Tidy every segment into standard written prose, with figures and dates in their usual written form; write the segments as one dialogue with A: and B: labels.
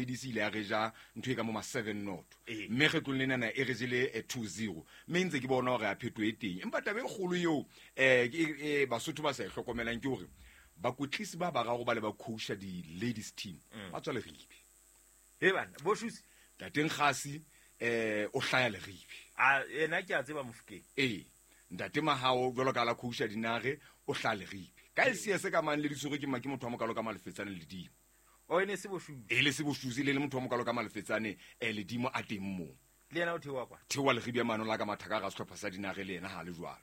A: Ladies ile ya re ja ntho e ka mo ma 7-0.
B: Ee.
A: Mme kgetlong lenana e re jele 2-0. Mme ntse ke bona hore a phetho e teng. Empa taba e kgolo eo Basotho ba sa e hlokomelang ke hore bakwetlisi ba bararo ba le ba coacha di-ladies team ba tswa Leribe.
B: He bana, bo Shusi.
A: Ntate Nkgasi o hlaya Leribe.
B: A yena ke a tseba Mofokeng.
A: Ee, ntate Mahao jwalo ka la coacha Dinare o hlaya Leribe. Ka LCS ka mang le ditshwere ke ke motho wa mokalo ka Malefetsane Ledimo.
B: O ene se Boshusi.
A: E le se Boshusi le le motho wa mokalo ka Malefetsane Ledimo a teng moo.
B: Le yena o theoha kwa.
A: Theoha Leribe ya mano la ka mathaka ga sehlopha sa Dinare le yena ha le jwalo.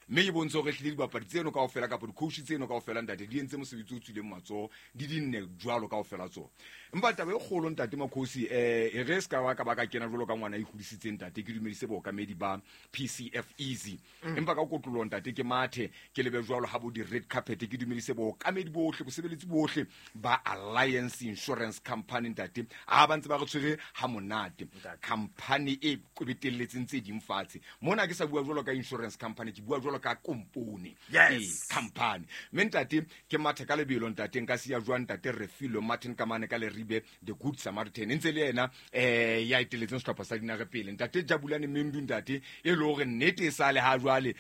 A: Mme ke bontshe hore ehlile dibapadi tseno kaofela kapa di-coach tseno kaofela ntate di entse mosebetsi o tswileng matsoho di di nne jwalo kaofela tsona. Empa taba e kgolo ntate Makhosi e re se ka ba ka ba ka kena jwalo ka ngwana e hodisitseng ntate ke dumedise bookamedi ba PCF Easy. Empa ka kotloloho ntate ke mathe ke lebe jwalo ha bo di-red carpet ke dumedise bookamedi bohle bosebeletsi bohle ba Alliance Insurance Company ntate a ba ntse ba re tshwere ha monate. Company e kwebetelletseng tse ding fatshe. Mona ke sa bua jwalo ka insurance company ke bua jwalo ka kompone.
B: Yes.
A: Ee, company. Mme ntate ke mathe ka lebelo ntate nka siya jwang ntate Refilwe Martin Kamane ka Leribe the Good Samaritan ntse le yena ya eteletseng sehlopha sa Dinare pele ntate Jabulane Mendu ntate e le hore nnete e sale ha jwale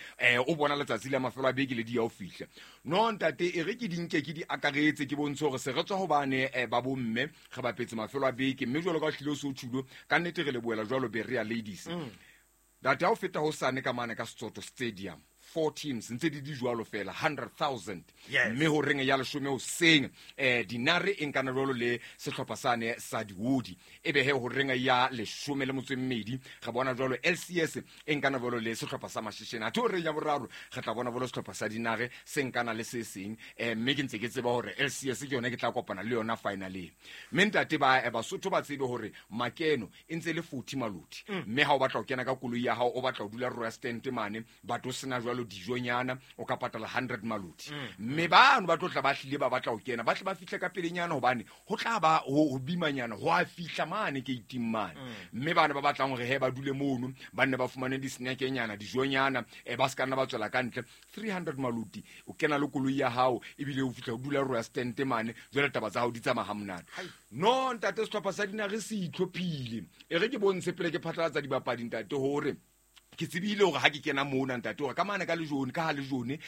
A: o bona letsatsi la mafelo a beke le di ya ho fihla. No ntate e re ke di nke ke di akaretse ke bontshe hore se re tswa hobane ba bomme re bapetse mafelo a beke mme jwalo ka o hlile o se o tjhulo ka nnete re lebohela jwalo Berea Ladies. Ntate ha o feta ho sane ka mane ka Setsoto Stadium 4 teams ntse di di jwalo fela 100,000.
B: Yes.
A: Mme ho reng ya leshome hoseng Dinare e nkana jwalo le sehlopha sane sa Diodi e be he ho reng ya leshome le motso e mmedi re bona jwalo LCS e nkana jwalo le sehlopha sa Mashishene. Athe ho reng ya boraro re tla bona jwalo sehlopha sa Dinare se nkana le se seng mme ke ntse ke tseba hore LCS ke yona ke tla kopana le yona finaleng. Mme ntate ba Basotho ba tsebe hore makeno e ntse le 40 maloti. Mme ha o batla ho kena ka koloi ya hao o batla ho dula Royal Stand mane batho o sena jwalo dijonyana o ka patala 100 maloti. Mme bano ba tlo tla ba hlile ba batla ho kena ba tle ba fihle ka pelenyana hobane ho tla ba ho bimanyana ho a fihla mane ke iting mane. Mme bana ba batlang hore he ba dule mono ba nne ba fumane di-snack-nyana dijonyana ba se ka nna ba tswela ka ntle 300 maloti o kena le koloi ya hao ebile o fihla o dula Royal Stand mane jwale taba tsa hao di tsamaya ha monate. No ntate sehlopha sa Dinare se itlhophile e re ke bontshe pele ke phatlalatsa dibapadi ntate hore ke tsebile hore ha ke kena mona ntate hore ka mane ka lejone ka ha lejone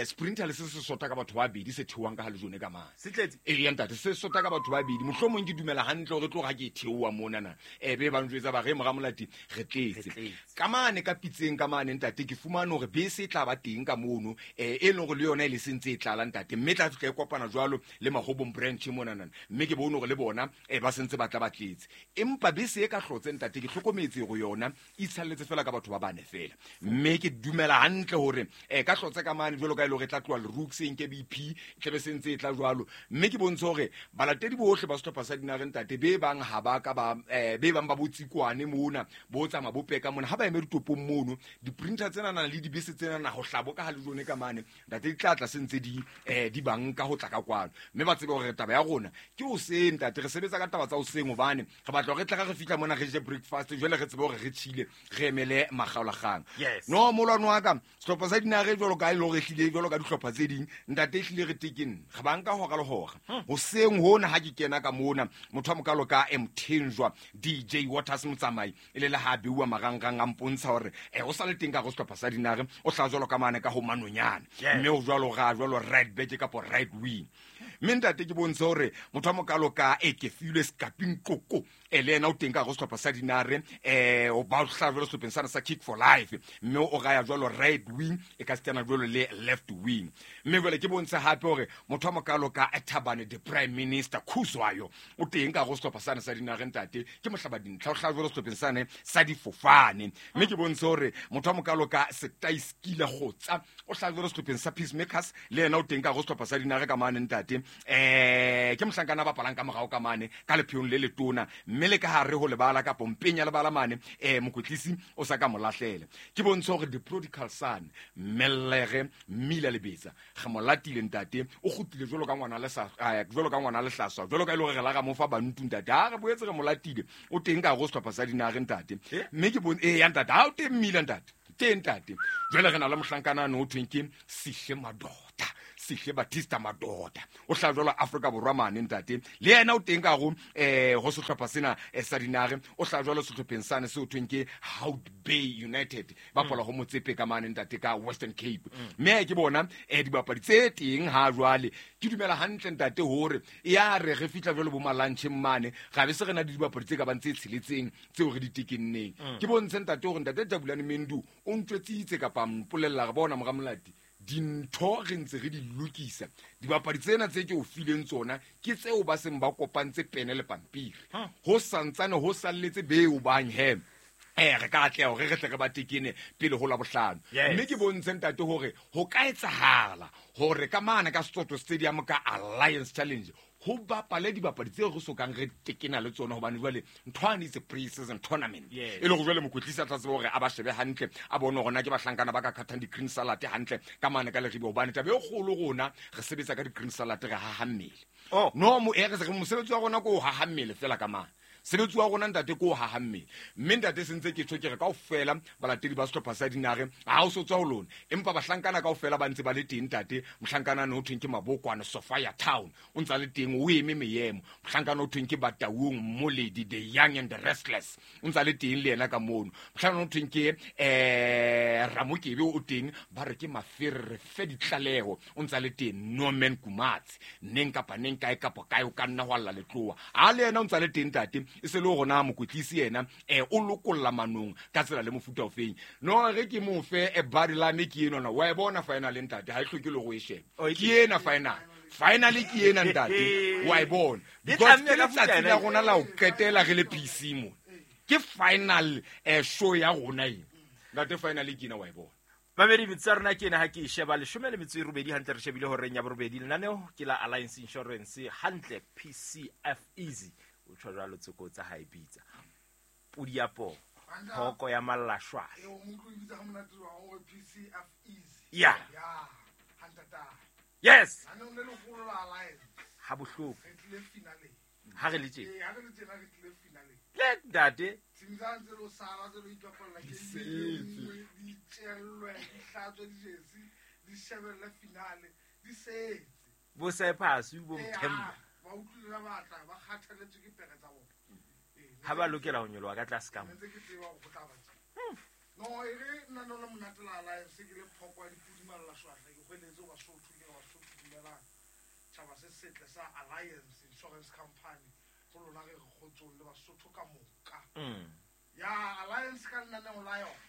A: sprinter le se se sota ka batho ba babedi se theohang ka ha lejone ka mane.
B: Se tletse?
A: Ee, ntate se sota ka batho ba babedi mohlomong ke dumela hantle hore tlo ha ke theoha mona na be ba njwetsa ba re mora Molati re tletse.
B: Re tletse.
A: Ka mane ka pitseng ka mane ntate ke fumane hore bese e tla ba teng ka mono e leng hore le yona e le sentse e tlala ntate mme tla fihla e kopana jwalo le Mahobong branch mona nana mme ke bone hore le bona ba sentse ba tla ba tletse empa bese e ka hlotse ntate ke hlokometse hore yona e itshalletse fela ka batho ba bane fela mme ke dumela hantle hore ka hlotse ka mane jwalo ka e le hore e tla tloha Lerux e nke BP e tlabe se ntse e tla jwalo mme ke bontshe hore balatedi bohle ba sehlopha sa Dinare ntate be bang ha ba ka ba be bang ba botsikwane mona bo tsamaya bo peka mona ha ba eme ditopong mono di-printer tsenana le dibese tsenana ho hlabo ka ha lejone ka mane ntate di tla tla se ntse di di banka ho tla ka kwano mme ba tsebe hore taba ya rona ke hoseng ntate re sebetsa ka taba tsa hoseng hobane re batla hore re tla re fihla mona re je breakfast jwale re tsebe hore re tshile re emele makgaolakgang.
B: Yes.
A: No molwano wa ka sehlopha sa Dinare jwalo ka e le hore ehlile jwalo ka dihlopha tse ding ntate ehlile re tekeng re banka hora le hora. Hoseng hona ha ke kena ka mona motho wa mokalo ka Mthenjwa DJ Waters Motsamai e le le ha beuwa marangrang a mpontsha hore o sa le teng ka go sehlopha sa Dinare o hla jwalo ka mane ka ho manonyana.
B: Yes.
A: Mme o jwalo ga jwalo right back kapa right wing. Mme ntate ke bontshe hore motho wa mokalo ka e ke filwe Skaping Koko le yena o teng ka go sehlopha sa Dinare o ba hla jwalo sehlopheng sana sa Kick for Life mme o raya jwalo right wing e ka sitana jwalo le left wing. Mme jwale ke bontshe hape hore motho wa mokalo ka Thabane the Prime Minister Khuzwayo o teng ka go sehlopha sana sa Dinare ntate ke mohlaba dintlha o hla jwalo sehlopheng sane sa difofane. Mme ke bontshe hore motho wa mokalo ka Setaiskile Kgotsa o hla jwalo sehlopheng sa Peacemakers le yena o teng ka go sehlopha sa Dinare ka mane ntate ke mohlankana ba bapalang ka morao ka mane ka lepheong le letona mme le ka hare ho lebala kapa mpeng ya lebala mane mokwetlisi o sa ka mo lahlela. Ke bontshe hore the prodigal son Mellege Mmila Lebetsa re mo latile ntate o kgutlile jwalo ka ngwana le sa jwalo ka ngwana le hlaswa jwalo ka e le hore re la ra mo fa bantu ntate ha re boetse re mo latile o teng ka go sehlopha sa Dinare ntate mme ke bone ya ntate ha o teng Mmila ntate teng ntate jwale re na le mohlankana no thweng ke Sihle Madota. Sihle Batista Madoda o hlaha jwalo Afrika Borwa mane ntate le yena o teng ka go go sehlopha sena sa Dinare o hlaha jwalo sehlopheng sane se o thweng ke Hout Bay United ba pola go Motsepe ka mane ntate ka Western Cape. Mme ke bona dibapadi tse teng ha jwale ke dumela hantle ntate hore ya re re fihla jwalo bo malantšheng mane ga be se re na le dibapadi tse ka bang tse tsheletseng tseo re di tekenneng. Ke bontshe ntate hore ntate Jabulani Mendu o ntwetsitse kapa mpolella re bona mora Molati dintho re ntse re di lokisa dibapadi tsena tse ke o fileng tsona ke tseo ba seng ba kopantse pene le pampiri ho santsane ho salletse beo bang he re ka atleha hore re tle re ba tekene pele ho Labohlano. Mme ke bontshe ntate hore ho ka etsahala hore ka mane ka Setsoto Stadium ka Alliance Challenge ho bapale dibapadi tseo re sokang re tekena le tsona hobane jwale nthwane is a pre-season tournament. E le hore jwale mokwetlisi a tla tseba hore a ba shebe hantle a bone hore na ke bahlankana ba ka khathang di-green salad hantle ka mane ka Leribe hobane taba e kgolo rona re sebetsa ka di-green salad re haha mmele. No mo re se mosebetsi wa rona ke ho haha mmele fela ka mane. Sebetsi wa rona ntate ke ho haha mmele. Mme ntate se ntse ke tjho ke re kaofela balatedi ba sehlopha sa Dinare ha o so tswa ho lona empa bahlankana kaofela ba ntse ba le teng ntate. Mohlankana no thweng ke Mabokwane Sophia Town o ntse le teng o eme meyemo. Mohlankana o thweng ke Bataung Moledi the Young and the Restless o ntse le teng le yena ka mono. Mohlankana o thweng ke Ramokebe o teng ba re ke Mafere re fe ditlaleho o ntse le teng. Norman Kumatsi neng kapa neng kae kapa kae o ka nna ho alla letloa a le yena o ntse le teng ntate. E se le rona mokwetlisi yena o lokolla manong ka tsela le mofuta ofeng no re ke mo fe e body la me ke ena wa e bona final ntate ha e hloke le go e sheba ke ena final ke ena ntate wa e bona because ke letsatsi la rona la ho qetela re le PC mo ke final show ya rona ena ntate final ke ena wa e bona.
B: Mamedi metsi a rona ke ena ha ke e sheba 18 hantle re shebile horeng ya borobedi lenaneo ke la Alliance Insurance hantle PCF Easy o tjho jwalo tsoko tsa hae bitsa pudi ya po thoko ya mallashwahla
C: o motlo bitsa ha monate wa hore PCF Easy
B: ya
C: ya hantata
B: yes
C: ana o le leholo la Alliance
B: ha bohloko
C: re tlile finale
B: ha re le tje
C: ha re le tjena re tlile finale
B: le ntate
C: tsimtsang tse lo sala tse lo ipapalla ke di tjellwe di hlatswe di jesi di shebelle finale di setse
B: bo Cyprus bo Mthemba
C: ba utlwile ba batla ba kgathaletswe ke pere tsa bona
B: ha ba lokela ho nyoloha ka tlase ka mo
C: ntse ke tseba go tla batla no e re nna no le monate la Alliance ke le phoko ya dipudi malla shwahla ke hweletse ba Sotho ke ba Sotho dumelang tjhaba se setle sa Alliance Insurance Company go lona re kgotsong le Basotho ka moka ya Alliance ka nna ne la yona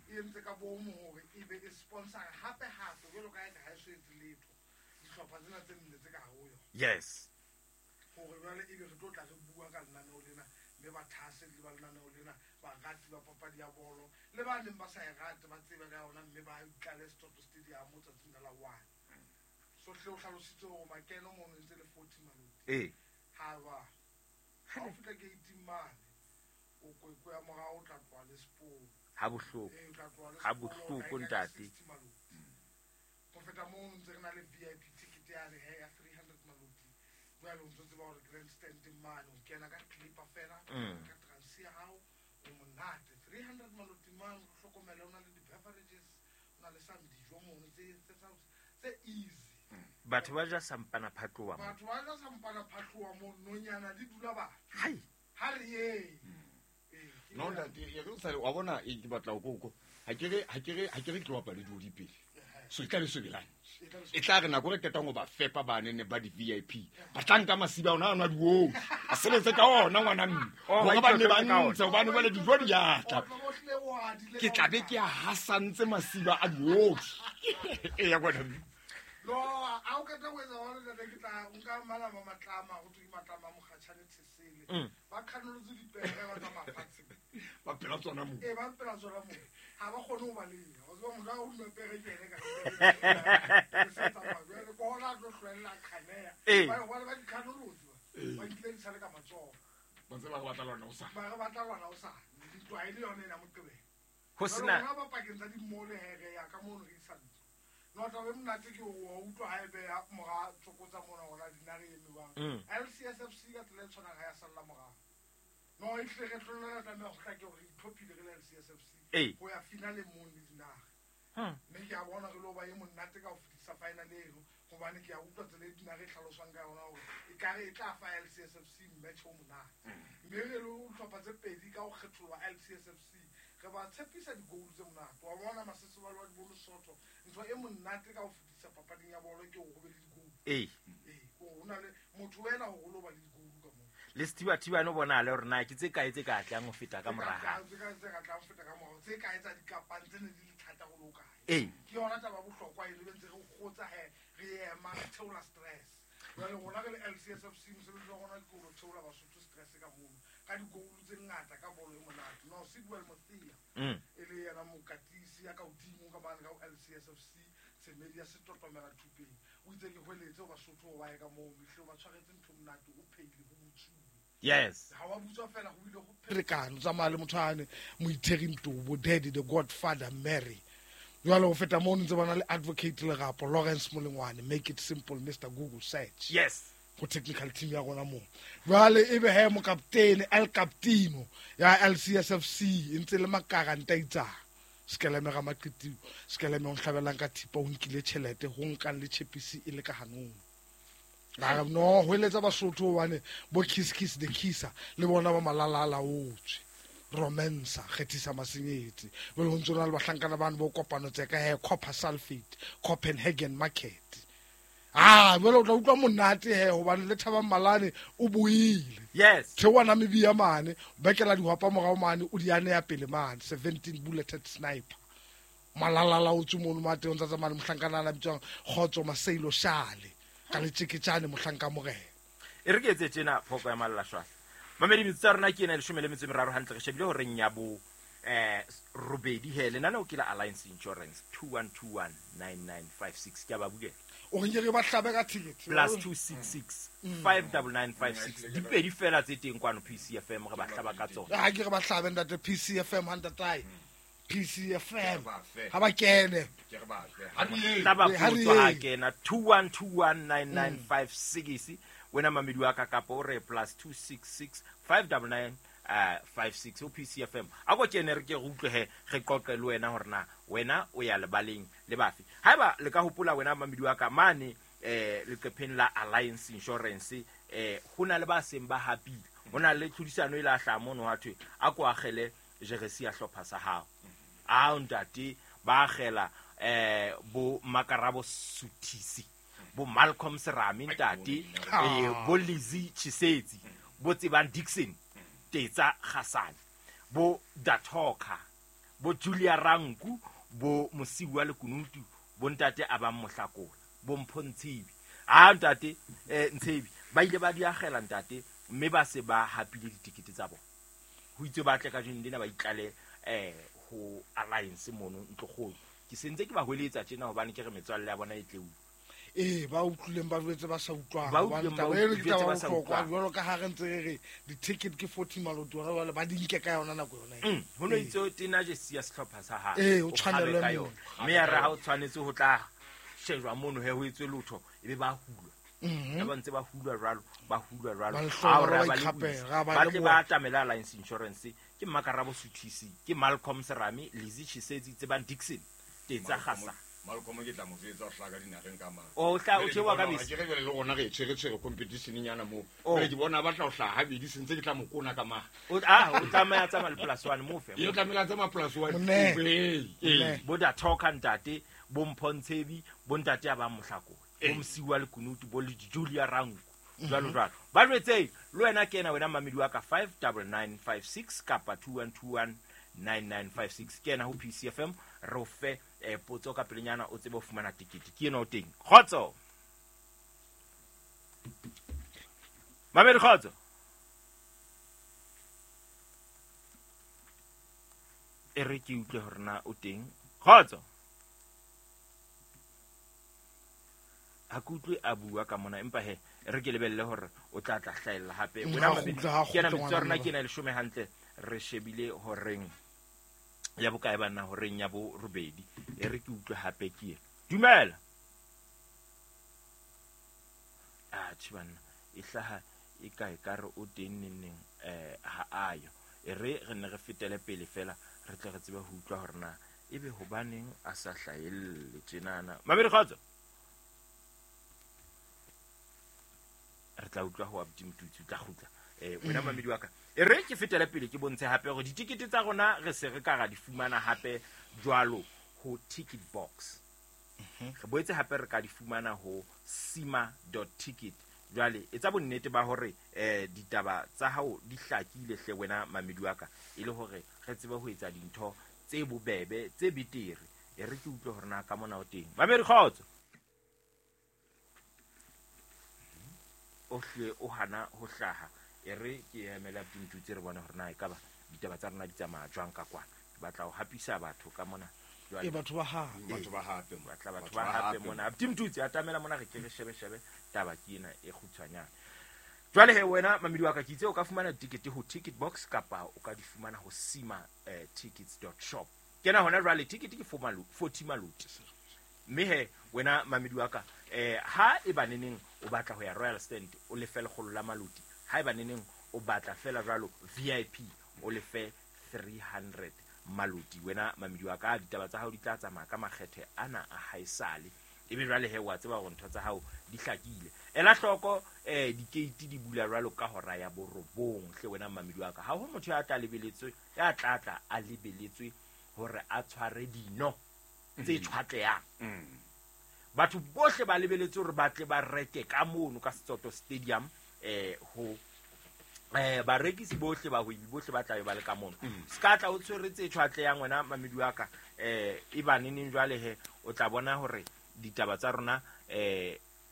C: e entse ka bomo hore e be e sponsor hape hape jwalo ka eka ha e so etse letho dihlopha tsena tse nne tse ka ho yona
B: yes
C: hore jwale ebe re tlo tla re bua ka lenaneo lena mme ba thahaselle ba lenaneo lena barati ba papadi ya bolo le ba neng ba sa e rate ba tsebe ka yona mme ba itlale Setsoto Stadium tsatsing la 1 sohle o hlalositse hore makeno mono ntse le 40 maloti ha ba ha o fihla gate mane o kwekwe ya morao o tla tloha le sepolo
B: ha bohloko ha bohloko ntate
C: ho feta moo ntse re na le VIP ticket yane he ya 300 maloti jwale o ntso tseba hore grandstand mane o kena ka clipper fela ka transi ya hao o monate 300 maloti mane o hlokomele o na le di-beverages o na le some dijo mono tse easy
B: batho ba ja sampana phatloha mo
C: batho ba ja sampana phatloha mo nonyana di dula batho
B: hai
C: ha re ye
A: no ntate e re o sale wa bona e ke batla o koko ha ke re tlo bapale di pele so e tla be sebelane e tla re nako re qetang ho ba fepa bane ne ba di VIP ba tla nka masiba ona a nwa dioo a sebetse ka ona ngwana mme hore ba ne ba ntse hobane jwale dijo di a tla ke tla be ke a hasantse masiba a dioo e ya ngwana mme
C: no a o qeta ho etsa hona ntate ke tla nka malama matlama go tswe matlama mokgatjhane thesele ba khanolotse dipere ba tsamaya fatshe
A: ba phela tsona mo
C: ba phela tsona mo ha ba kgone ho baleha o tseba motho a o duma pere ke ene ka jwale ke hona a tlo hlwella khaneya ba ba dikhanolotse ba nkile di sale ka matsoho
A: ba ntse ba re batla lwana o sa
C: ba re batla lwana o sa ntwa e le yone ena moqebelo
B: ho sena
C: ba pakeng tsa dimole here ya ka mono re isa ntlo no taba e monate ke o utlwa ha e beha mora tsokotsa mona hona Dinare e mewang LCSFC ka tsela e tshwanang ha ya salla morao no e hle re tlolela tlameha ho hlake hore re itlhophile re le LCSFC ho ya finale mono le Dinare mme ke a bona re lo ba e monate ka ho fetisa final eno Gobane ke a utlwa tsela e Dinare e tlhaloswang ka yona gore e kare e tla fa LCSFC match o monate. Mme re le tlhopha tse pedi ka go kgetholwa LCSFC re ba tshepisa di-goal tse monate. Wa bona Masesebale wa Dibolosotho, ntho e monate ka ho fetisa papading ya bolo ke hore ho be le di-goal.
B: Ee.
C: Ee, ho na le motho wena hore o lo ba le di-goal ka moo.
B: Le sethibathibane o bonahale hore na ke tse kae tse ka tlang ho feta ka mora hae.
C: Tse ka tlang ho feta ka morao, tse kae tsa dikapane tse ne di le thata ho lo kae.
B: Ee.
C: Ke yona taba ya bohlokwa e re ntse re kgotsa he, re ema, re theola stress. Jwale rona re le LCSFC mosebetsi wa rona ke ho theola Basotho stress ka mono ka di-goal tse ngata ka bolo e monate. No, Sidwell Mothea e le yena mokatisi ya ka hodimo ka mane ka ho LCSFC, Tshemedi ya Setotomela thupeng. O itse ke hweletse ho Basotho ho ba ye ka moo, mehle o ba tshwaretse ntho monate, o pheile ho botsuwe.
B: Yes.
C: Ha wa butswa fela ho ile ho pherekano, tsamaya le motho ane Moitheri Ntobo, Daddy the Godfather Mary. Jwale ho feta moo ntse bona le Advocate Lerapo, Lawrence Molengwane, make it simple Mr Google search.
B: Yes.
C: Go technical team ya rona moo. Jwale ebe he mokaptene El Captino ya LCSFC e ntse le makara ntaitsa. Skeleme ga maqiti, skeleme o nhlabelang ka thipa o nkile tjhelete ho nkang le chepisi e le ka hanong. Ga no ho eletsa Basotho hobane bo kiss kiss the kisser le bona ba malalala otswe. Romansa kgethisa masenyetsi jwale ho ntse na le bahlankana bane bo kopano tse ka he copper sulfate Copenhagen market. Ah, jwale o tla utlwa monate he hobane le Thabang Malane o buile.
B: Yes.
C: Theoha Namibia mane, bekela dihwapa morao mane, o di aneya pele mane, 17 bulleted sniper. Malalala o tswe mono mate o ntsa tsamaya le mohlankana a bitswang Kgotso Maseilo Shale ka letjeketjane mohlanka morena.
B: E re ke etse tjena phoko ya Malala-Shwahla. Mamedi metsotso ya rona ke ena 13 hantle re shebile horeng ya bo robedi he lenaneo ke la Alliance Insurance 21219956 ke a ba bulela.
C: O re nke re ba hlabe ka ticket.
B: Plus 266 59956 dipedi fela tse teng kwano PCFM re ba hlaba ka tsona.
C: Ha ke re ba hlabe ntate PCFM ha ntatae. PCFM ha ba kene.
A: Ke re ba hle. Ha re ye.
B: Hlaba potso ha kena 21219956 wena mamedi wa ka kapa o re plus 266 599 56 o PCFM. A ko kene re ke re utlwe he re qoqe le wena hore na wena o ya lebaleng le bafe. Haeba le ka hopola wena mamedi wa ka mane leqepheng la Alliance Insurance ho na le ba seng ba hapile. Ho na le tlhodisano e la hlaha mono ha thwe a ko akgele jeresi ya hlopha sa hao. A ntate ba akgela bo Makarabo Suthisi, bo Malcolm Serame ntate, bo Lizzy Chisetsi, bo Tsebang Dixon, Tetsa Kgasane, bo Datoka, bo Julia Ranku, bo Mosiwa Lekunutu, bo ntate a bang Mohlakola, bo Mpho Ntshebi. A ntate Ntshebi ba ile ba di akgela ntate mme ba se ba hapile ditikete tsa bona. Ho itse ba tle ka jeno lena ba itlale ho Alliance mono ntlokgolo. Ke sentse ke ba hweletsa tjena hobane ke re metswalle ya bona e tle utlwe.
C: Ee, ba utlwileng ba jwetse ba sa utlwang.
B: Ba utlwileng ba jwetse ba sa utlwang.
C: Jwalo ka ha re ntse re re di-ticket ke 40 maloti hona jwale ba di nke ka yona nako yona eo.
B: Ho no itse tena jesi ya sehlopha sa hae.
C: Ee, o tshwanelwe
B: ka yona. Mme ya re ha o tshwanetse ho tla shejwa mono he ho etswe lotho ebe ba hulwa. Ya ba ntse ba hulwa jwalo, ba hulwa jwalo.
C: Ba
B: Ha o re
C: ba
B: ba le
C: ikgapela,
B: buisa.
C: ra ba
B: Ba tle
C: leboha.
B: ba atamela Alliance Insurance ke Makarabo Suthisi, ke Malcolm Serame, Lizzy Chisetsi, Tsebang Dixon, Tetsa Kgasa.
A: Malcolm ke tla mo jwetsa ho hlaka dinareng ka mang.
B: O hla o theoha ka bese.
A: Ke re jwale le rona re tshwere competition nyana moo.
B: Oh.
A: Jwale ke bona ba tla ho hlaha habedi sentse ke tla mo kona ka mang.
B: O o tlameha tsamaya le plus one mo fe.
A: Ye tlamehile a tsamaya plus one.
C: Monne.
A: Ee, ee.
C: Monne.
B: Bo Datoka ntate, bo Mpho Ntshebi, bo ntate a bang Mohlakola, bo Mosiwa Lekunutu, bo Julia Ranku, jwalo jwalo. Ba jwetse le wena kena wena mamedi wa ka 59956 kapa 21219956 kena ho PCFM re o fe potso ka pelenyana o tsebe ho fumana tikete. Ke ena o teng. Kgotso. Mamedi kgotso. E re ke utlwe hore na o teng. Kgotso. Ha ke utlwe a bua ka mona empa he re ke lebelle hore o tla tla hlahella hape. Wena
C: Ha
B: mamedi,
C: kgutla, ha
B: ke ena
C: kgutla
B: metsotso ya rona
C: ngwana
B: ke ena 10 hantle re shebile horeng ya bokae banna horeng ya bo robedi. E re ke utlwe hape ke ena. Dumela. Ah, tjhe banna, e hlaha e kae ka re o teng neng neng, ha ayo. E re re ne re fetele pele fela re tle re tsebe ho utlwa hore na ebe hobaneng a sa hlahelle tjenana. Mamedi kgotso. Re tla utlwa ho Abdi Mtutsi, o tla kgutla. Wena mamedi wa ka, e re ke fetele pele ke bontshe hape hore ditikete tsa rona re se re ka ra di fumana hape jwalo ho ticket box. Re boetse hape re ka di fumana ho sima.ticket. Jwale etsa bonnete ba hore ditaba tsa hao di hlakile hle wena mamedi wa ka, e le hore re tsebe ho etsa dintho tse bobebe tse betere. E re ke utlwe hore na ka mona o teng. Mamedi kgotso, o hle o hana ho hlaha. E re ke emela Abdi re bone hore na ekaba ditaba tsa rona di tsamaya jwang ka kwana. Ke batla ho hapisa batho ka mona.
C: E batho ba hape,
A: batho ba hape,
B: batla batho ba hape mona. Abdi Mtutsi atamela mona, re ke re shebe shebe taba ke ena e kgutshwanyane. Jwale he wena mamedi wa ka, ke itse o ka fumana ticket ho ticket box kapa o ka di fumana ho sima tickets.shop. Kena hona jwale ticket ke 40 maloti. Mme he wena mamedi wa ka, ha e ba neneng o batla ho ya Royal Stand o lefe lekgolo la maloti. Ha e ba neneng o batla fela jwalo VIP o lefe 300 maloti. Wena mamedi wa ka, ditaba tsa hao di tla tsamaya ka makgethe ana a haesale. Ebe jwale he wa tseba hore ntho tsa hao di hlakile. Ela hloko dikeiti di bula jwalo ka hora ya 9 hle wena mamedi wa ka. Ha ho motho ya tla lebeletswe, ya tlatla a lebeletswe hore a tshware dino tse tshwatleyang. Batho bohle ba lebeletse hore ba tle ba reke ka mono ka Setsoto Stadium. Ho barekisi bohle, bahwebi bohle ba tla be ba le ka mono. Se ka tla o tshwere tse tshwatleyang wena mamedi wa ka. E ba neneng jwale he o tla bona hore ditaba tsa rona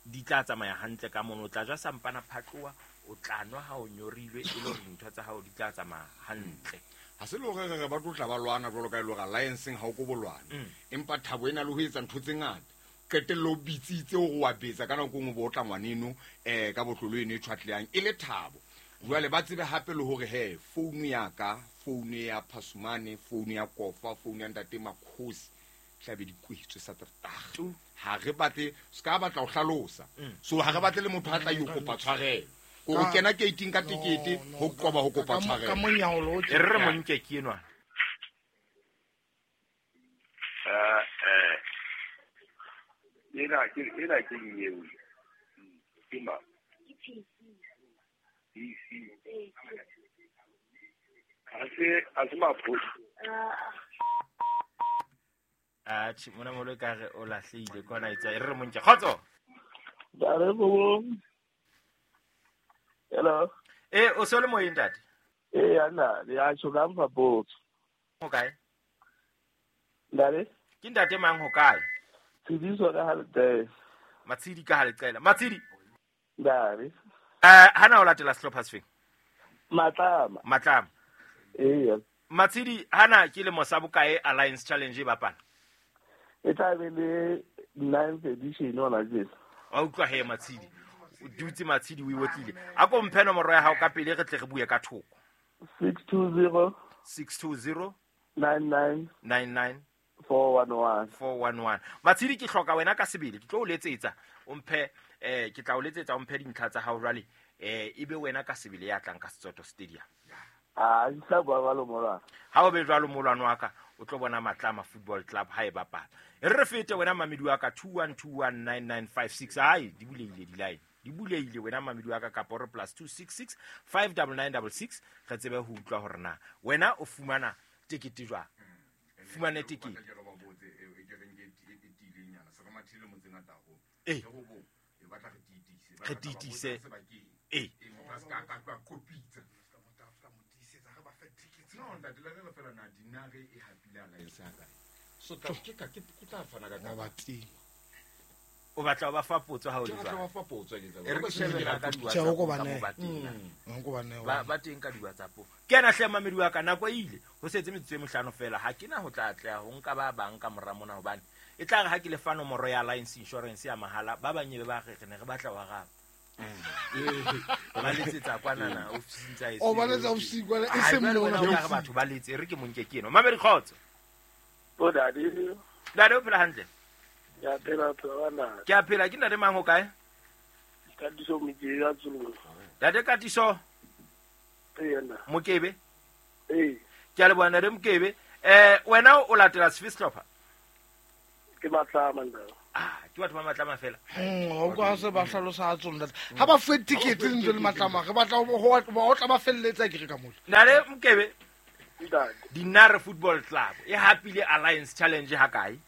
B: di tla tsamaya hantle ka mono. O tla ja sampana phatloa, o tla nwa ha o nyorilwe, e le hore dintho tsa hao di tla tsamaya hantle.
A: Ha se le hore re ba tlotla ba lwana jwalo ka e le hore allianceng ha o ko bolwana, empa thabo ena le ho etsa ntho tse ngata. Qetello o bitsitse hore wa betsa ka nako e nngwe bo otla ngwaneno ka botlolo eno e tshwatleyang e le thabo. Jwale ba tsebe hape le hore he founu ya ka, founu ya Phasumane, founu ya Kofa, founu ya Ntate Makhosi tlabe di kwetswe Saterdag. Ha re batle, se ka batla ho hlalosa. So ha re batle le motho a tla yo kopa tshwarelo. Ko kena gate-ing ka tikete ho qoba ho kopa tshwarelo.
C: Ka monyaolo o
B: E re mo nke ke enwa.
D: Ena ke eo. Ke ma. PC. Ha se maphoso.
B: Atjhe, mona molo ka re o lahlehile kwana etsa. E re mo nke. Kgotso.
E: Hello.
B: O se le moyeng ntate?
E: Ana, ya tjho ka mfa potso.
B: Ho kae?
E: Ntate?
B: Ke ntate mang ho kae?
E: Tshidiso ka Haleqela.
B: Matshidi ka Haleqela. Matshidi.
E: Ntate.
B: Hana o latela sehlopha sefeng?
E: Matlama.
B: Matlama.
E: Ee.
B: Matshidi, hana ke lemo sa bokae Alliance Challenge e bapala?
E: E tla be le 9th edition hona jwale.
B: Wa utlwa he Matshidi. O dutse Matshidi o iwotlile. A ko mphe nomoro ya hao ka pele re tle re bue ka thoko.
E: 620
B: 620
E: 99
B: 99
E: 411
B: 411. Matshidi, ke hloka wena ka sebele, ke tlo o letsetsa o mphe ke tla o letsetsa o mphe dintlha tsa hao jwale, ebe wena ka sebele ya tlang ka Setsoto Stadium.
E: Ah, ke tla bua jwalo molwana.
B: Ha o be jwalo molwana wa ka, o tlo bona Matlama Football Club ha e bapala. E re fete wena mamedi wa ka 21219956. Ai, di buleile di-line. Di buleile wena mamedi wa ka kapa re +266 59966 re tsebe ho utlwa hore na wena o fumana tekete jwang. Fumane tekete. Re tiitise. O batla ba fa potso ha o le jwang? E re ke shebe ka di-WhatsApp ba teng ka di-WhatsApp. Ke ena hle mamedi wa ka, nako e ile ho setse metsotso e mehlano fela. Ha ke na ho tla atleha ho nka ba bang ka mora mona, hobane e tla re ha ke le fa nomoro ya Alliance Insurance ya mahala, ba bang ebe ba re re ne re batla wa raba. Ba letsetsa kwanana ofising tsa
C: O ba letsa ofising kwana, e seng mona.
B: O ka re batho ba letse, e re ke monke ke eno. Mamedi kgotso.
E: O dadi.
B: Dadi o phela hantle?
E: Ya phela phela.
B: Ke a phela, ke ntate mang ho kae?
E: Katiso Mokebe ya Tsolong.
B: Ntate Katiso?
E: Ee,
B: Mokebe?
E: Ee.
B: Ke a leboha ntate Mokebe. Wena o latela sefe sehlopha?
D: Ke Matlama ntate.
B: Ah, ke batho ba Matlama fela.
C: O kwa se ba hlalosa tsona ntate. Ha ba fuwe ticket ntse le Matlama, re batla ho tla ba felletsa ke re ka mole.
B: Nale Mokebe.
D: Ntate.
B: Dinare Football Club e hapile Alliance Challenge ha kae?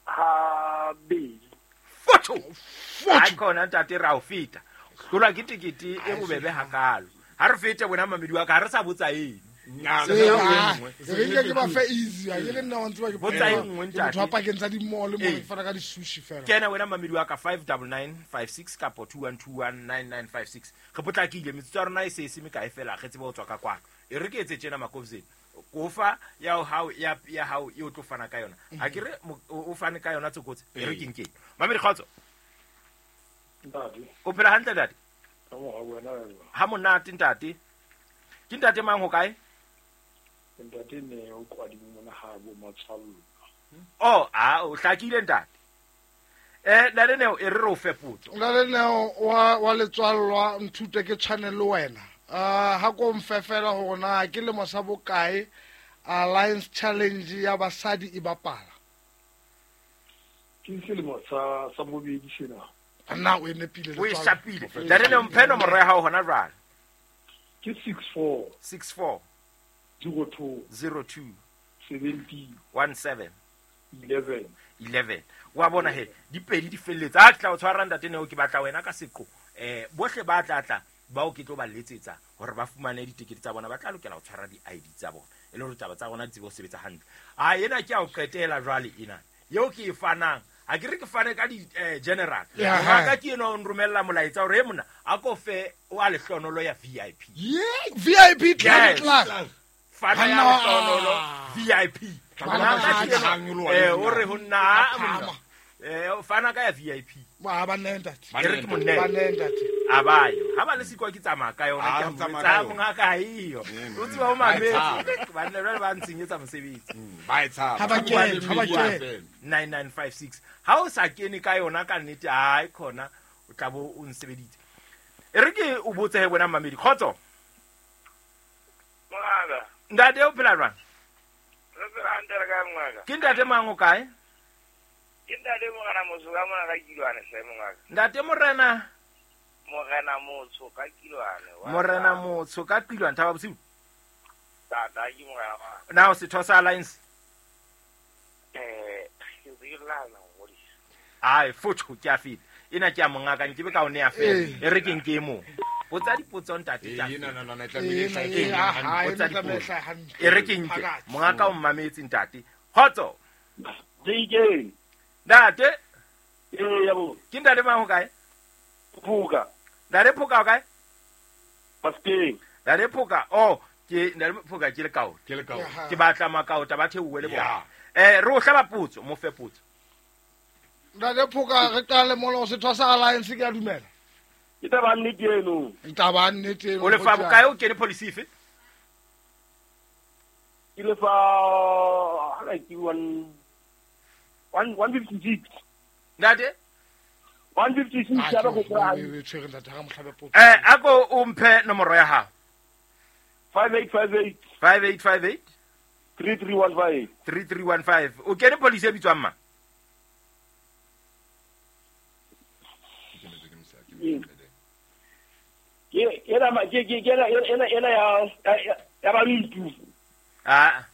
D: Ha bedi.
B: Foto. Ha khona ntate ra o feta. Hlolwa ke tikete e bobebe hakalo. Ha re fete bona mamedi wa ka ha re sa botsa eng.
C: Re ke ba fe easy a ke nna wa ntse ba ke
B: botsa e nngwe ntate.
C: Motho wa pakeng tsa di-mall mo re fana ka di-sushi fela.
B: Kena wena mamedi wa ka 59956 kapo 21219956. Re potlakile metsotso ya rona e se se mekae fela re tsebe ho tswa ka kwano. E re ke etse tjena Makovzeni. Kofa ya hao ya hao e o tlo fana ka yona. Ha ke re o fane ka yona Tsokotsi. E re ke nkeng. Mamedi kgotso.
D: Ntate.
B: O phela hantle ntate?
D: Ka mo wena.
B: Ha monate ntate. Ke ntate mang ho kae?
D: Ntate ne o kwadi mona ha bo matshwallo.
B: Oh, ah, o hlakile ntate. Ntate Neo e re o fe potso.
C: Ntate Neo wa letswallwa nthute ke tshwane le wena. Ha ko mfefela hore na ke lemo sa bokae Alliance Challenge ya basadi e bapala.
D: Ke selemo sa bobedi sena.
C: Nna o nepile
B: le. O e shapile. Ntate Neo mphe nomoro ya hao hona jwale.
D: Ke 64
B: 64
D: 02
B: 02
D: 70
B: 17
D: 11
B: 11. Wa bona he di pedi di felletse. A tla o tshwara ntate Neo ke batla wena ka seqo. Bohle ba tla bao ke tlo ba letsetsa hore ba fumane ditekete tsa bona ba tla lokela ho tshwara di-ID tsa bona e le hore taba tsa bona di tsebe ho sebetsa hantle. A ena ke a o qetela jwale ena eo ke e fanang. Ha ke re ke fane ka di general. Ngaka ke ena o nromella molaetsa hore e mona a ko fe o a lehlonolo ya VIP.
C: Yeah, VIP club.
B: Fana ya lehlonolo VIP. O re ho nna monna. Fana ka ya VIP.
C: Ba ba nne ntate.
B: E re ke monne.
C: Ba nne ntate.
B: A ba yo. Ha ba le sikwa ke tsamaya ka yona ke tsa mongaka iyo. O tseba o mametse. Ba nne jwale ba ntshenyetsa mosebetsi.
A: Ba e tshaba.
C: Ha ba kene,
B: 9956. Ha o sa kene ka yona ka nnete ai khona o tla bo o nsebeditse. E re ke o botse he wena mamedi. Kgotso.
D: Mongaka.
B: Ntate o phela jwang?
D: Re phela hantle re kae mongaka?
B: Ke ntate mang o kae?
D: Ke ntate Morena Motho ka mona ka Kilwane hle mongaka.
B: Ntate Morena
D: Morena Motho ka Kilwane.
B: Morena Motho ka Kilwane thaba bosiu.
D: Tata ke morena wa.
B: Na o setho sa Alliance?
D: Ke lana ngodisa.
B: Ai fotho ke a feta. Ena ke a mongaka nke be ka o nea fela. E re ke nke mo. Botsa dipotso ntate tla.
A: Ena na na tlamehile e
C: hantle.
B: E re ke nke. Mongaka o mmametse ntate. Kgotso.
D: Dikeng.
B: Ntate.
D: Ya bo.
B: Ke ntate mang ho kae?
D: Phoka.
B: Ntate Phoka o kae?
D: Mafikeng.
B: Ntate Phoka, oh, ke ntate Phoka ke lekao.
A: Ke lekao.
B: Ke batla makaota ba theowe le bona. Re o hlaba potso, mo fe potso.
C: Ntate Phoka re qale mola o setho sa Alliance ke a dumela.
D: Ke taba nnete eno.
C: Taba nnete eno.
B: O lefa bokae o kene policy efe?
D: Ke lefa ha ke 156.
B: Ntate
D: 156 ya go
C: tla. Re tshwere ntate ha mohlabe potso.
B: Ako o mphe nomoro ya hao.
D: 5858
B: 5858
D: 3315
B: 3315. O kene policy e bitswang mang?
D: Ke ena ya Bantu.
B: Ah.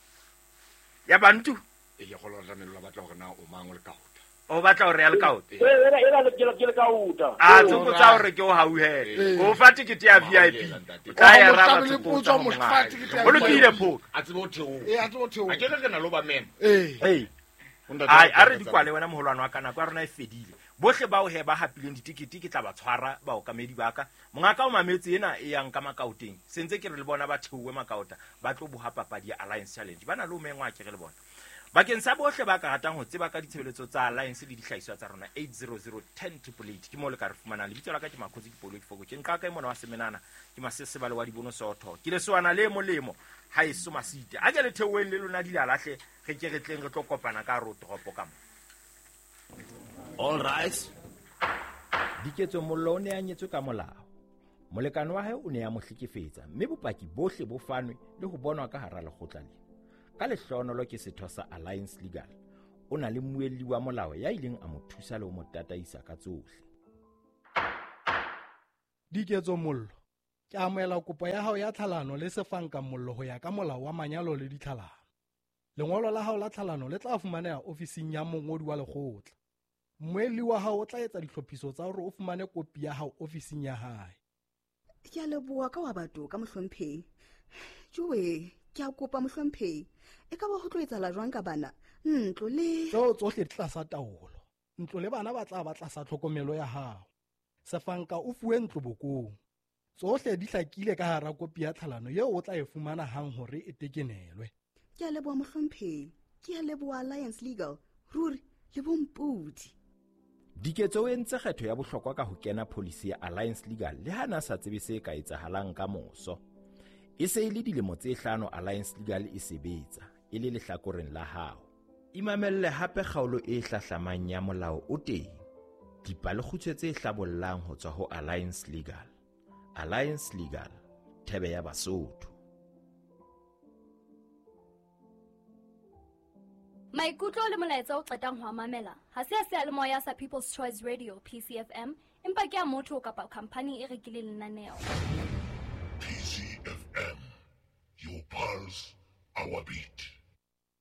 B: Ya Bantu.
A: E ke go tlamehile ba batla hore na o mang o lekaota.
B: O batla hore ya lekaota.
D: Ena ke lekaota.
B: Ah, tsokotsa hore ke o hauhele. O fa tikete ya VIP. O tla ya raba tsokotsa. O lokile Phoka.
A: A tsebe ho theoha.
C: A tsebe ho theoha.
A: A ke re na lo ba mema.
B: Ee. Ai, a re dikwale wena moholwane wa ka nako ya rona e fedile. Bohle bao he ba hapileng ditikete ke tla ba tshwara baokamedi ba ka. Mongaka o mametse ena e yang ka makaoteng. Sentse ke re le bona ba theowe makaota ba tlo boha papadi ya Alliance Challenge. Ba na le o mengwa ke re le bona. Bakeng sa bohle ba ka ratang ho tseba ka ditshebeletso tsa Alliance le dihlahiswa tsa rona 800 10 888 ke mo le ka re fumanang. Lebitso la ka ke Makhotsi ke Polo ke Foko. Ke nka ka mona wa Semenana ke Masesebale wa Dibono Sootho. Ke lesoana le molemo ha eso masite. A ke le theoeng le lona dilalahle re ke re tleng re tlo kopana ka ro toropo ka mo.
F: All right. Diketso Mollo o ne a nyetswe ka molao. Molekane wa hae o ne a mo hlekefetsa mme bopaki bohle bo fanwe le ho bonwa ka hara lekgotla lena. Ka lehlohonolo ke setho sa Alliance Legal. O na le mmuelli wa molao ya ileng a mo thusa le ho mo tataisa ka tsohle.
G: Diketso Mollo, ke amohela kopo ya hao ya tlhalano le Sefanka Mollo ho ya ka molao wa manyalo le ditlhalano. Lengolo la hao la tlhalano le tla fumaneha ofising ya mongodi wa lekgotla. Mmuelli wa hao o tla etsa ditlhophiso tsa hore o fumane kopi ya hao ofising ya hae.
H: Ke a leboha ka wa batho ka mohlomphehi. Joe, ke a kopa mohlomphehi. E ka ba ho tlo etsahala jwang ka bana? Ntlo le
G: Tseo tsohle di tlasa taolo. Ntlo le bana ba tla ba tlasa tlhokomelo ya hao. Sefanka o fuwe ntlo bokong. Tsohle di hlakile ka hara kopi ya tlhalano eo o tla e fumana hang hore e tekenelwe.
H: Ke a leboha mohlomphehi. Ke a leboha Alliance Legal. Ruri le bompodi.
F: Diketso o entse kgetho ya bohlokwa ka ho kena pholisi ya Alliance Legal le ha na sa tsebe se ka etsahalang ka moso. E se e le dilemo tse hlano Alliance Legal e sebetsa e le lehlakoreng la hao. Imamelle hape kgaolo e hlahlamang ya molao o teng. Dipalekgutshwe tse hlabollang ho tswa ho Alliance Legal. Alliance Legal, thebe ya Basotho.
I: Maikutlo le molaetsa o qetang ho a mamela ha se a seyalemoya sa People's Choice Radio PCFM empa ke a motho kapa khamphani e rekileng lenaneo.
J: PCFM, your pulse, our beat.